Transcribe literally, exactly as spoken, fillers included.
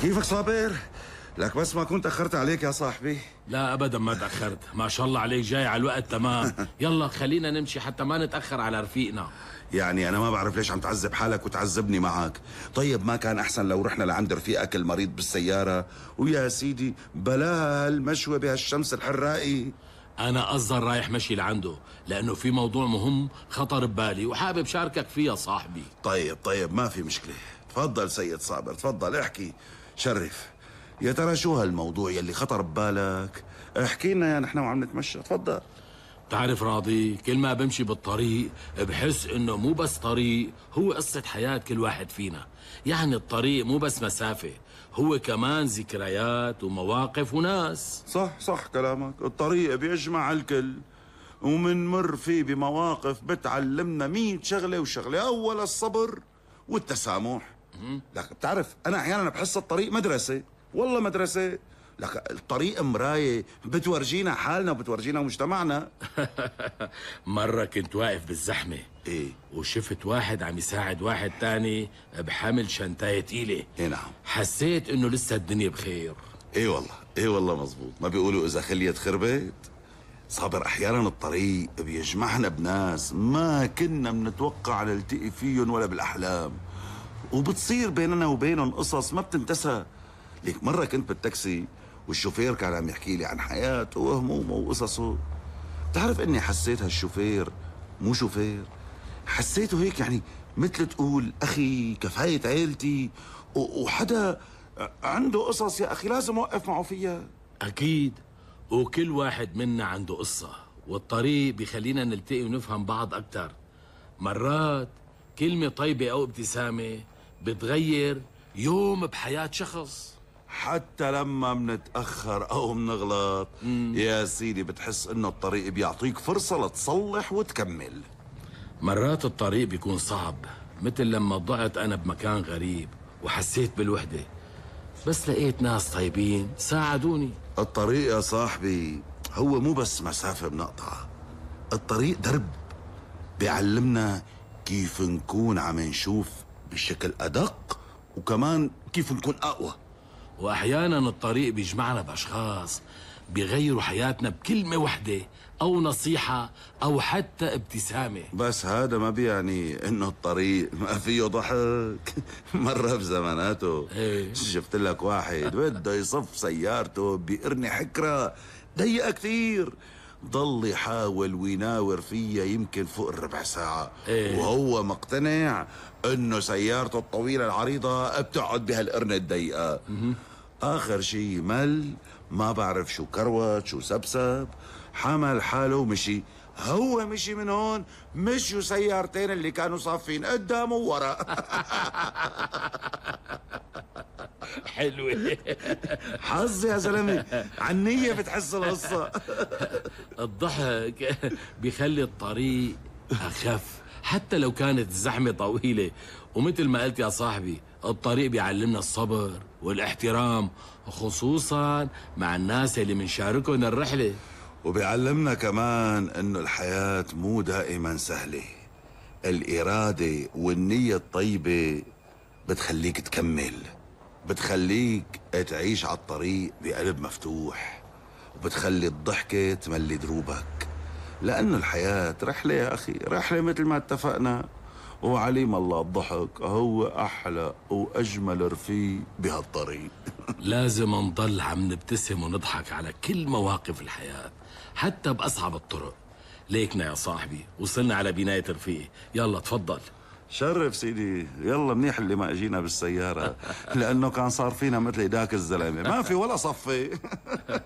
كيفك صابر؟ لك بس ما كنت أخرت عليك يا صاحبي. لا ابدا ما تاخرت، ما شاء الله عليك جاي على الوقت تمام. يلا خلينا نمشي حتى ما نتاخر على رفيقنا. يعني أنا ما بعرف ليش عم تعذب حالك وتعذبني معك. طيب ما كان أحسن لو رحنا لعند رفيقك المريض بالسيارة ويا سيدي بلاها هالمشوة بهالشمس الحرائي؟ انا قصدي رايح مشي لعنده لانه في موضوع مهم خطر ببالي وحابب شاركك فيه يا صاحبي. طيب طيب ما في مشكلة، تفضل سيد صابر تفضل احكي شرف. يا ترى شو هالموضوع يلي خطر ببالك؟ احكي لنا يا نحن وعم نتمشى. تفضل. بتعرف راضي، كل ما بمشي بالطريق بحس انه مو بس طريق، هو قصة حياة كل واحد فينا. يعني الطريق مو بس مسافة، هو كمان ذكريات ومواقف وناس. صح صح كلامك، الطريق بيجمع الكل ومنمر فيه بمواقف بتعلمنا مية شغلة وشغلة. أول الصبر والتسامح. لك بتعرف أنا أحيانا بحس الطريق مدرسة، والله مدرسة. لك الطريق مراية بتورجينا حالنا وبتورجينا مجتمعنا. مرة كنت واقف بالزحمة ايه وشفت واحد عم يساعد واحد تاني بحمل شنطاية تقيلة. ايه نعم. حسيت انه لسه الدنيا بخير. ايه والله ايه والله مزبوط. ما بيقولوا اذا خليت خربت. صابر احيانا الطريق بيجمعنا بناس ما كنا بنتوقع نلتقي فيهم ولا بالاحلام، وبتصير بيننا وبينهم قصص ما بتنتسى. ليك مرة كنت بالتاكسي والشوفير كان عم يحكي لي عن حياته وهمومه وقصصه. بتعرف اني حسيت هالشوفير مو شوفير، حسيته هيك يعني مثل تقول اخي كفاية عيلتي وحدا عنده قصص يا اخي لازم اوقف معه فيها. اكيد، وكل واحد منا عنده قصة، والطريق بيخلينا نلتقي ونفهم بعض اكتر. مرات كلمة طيبة او ابتسامة بتغير يوم بحياة شخص. حتى لما منتأخر أو منغلط مم. يا سيدي بتحس إنه الطريق بيعطيك فرصة لتصلح وتكمل. مرات الطريق بيكون صعب، مثل لما ضعت أنا بمكان غريب وحسيت بالوحدة، بس لقيت ناس طيبين ساعدوني. الطريق يا صاحبي هو مو بس مسافة بنقطعها، الطريق درب بيعلمنا كيف نكون عم نشوف بشكل أدق، وكمان كيف نكون أقوى. وأحيانا الطريق بيجمعنا بأشخاص بيغيروا حياتنا بكلمة وحدة أو نصيحة أو حتى ابتسامة. بس هذا ما بيعني إنه الطريق ما فيه ضحك. مرة بزماناته ايه؟ شفت لك واحد بده يصف سيارته بقرنة حكرة ضيقة كثير، ضل يحاول ويناور فيها يمكن فوق الربع ساعة. ايه؟ وهو مقتنع انه سيارته الطويلة العريضة بتقعد بهالقرنة الضيقة. اخر شي مل ما بعرف شو كروت شو سبسب، حمل حاله ومشي. هو مشي من هون مشوا سيارتين اللي كانوا صافين قدام وورا. حلوة. حظ يا زلمة، عنية بتحس القصة. الضحك بيخلي الطريق أخف حتى لو كانت الزحمة طويلة. ومثل ما قلت يا صاحبي، الطريق بيعلمنا الصبر والاحترام، خصوصا مع الناس اللي منشاركهم الرحلة. وبيعلمنا كمان انه الحياة مو دائما سهلة. الإرادة والنية الطيبة بتخليك تكمل، بتخليك تعيش على الطريق بقلب مفتوح، وبتخلي الضحكة تملي دروبك. لأنه الحياة رحلة يا أخي، رحلة مثل ما اتفقنا. وعليم الله الضحك هو أحلى وأجمل رفيق بهالطريق. لازم نضل عم نبتسم ونضحك على كل مواقف الحياة حتى بأصعب الطرق. ليكنا يا صاحبي وصلنا على بناية رفيقي، يلا تفضل. شرف سيدي، يلا منيح اللي ما اجينا بالسيارة، لأنه كان صار فينا مثل داك الزلمة ما في ولا صفي.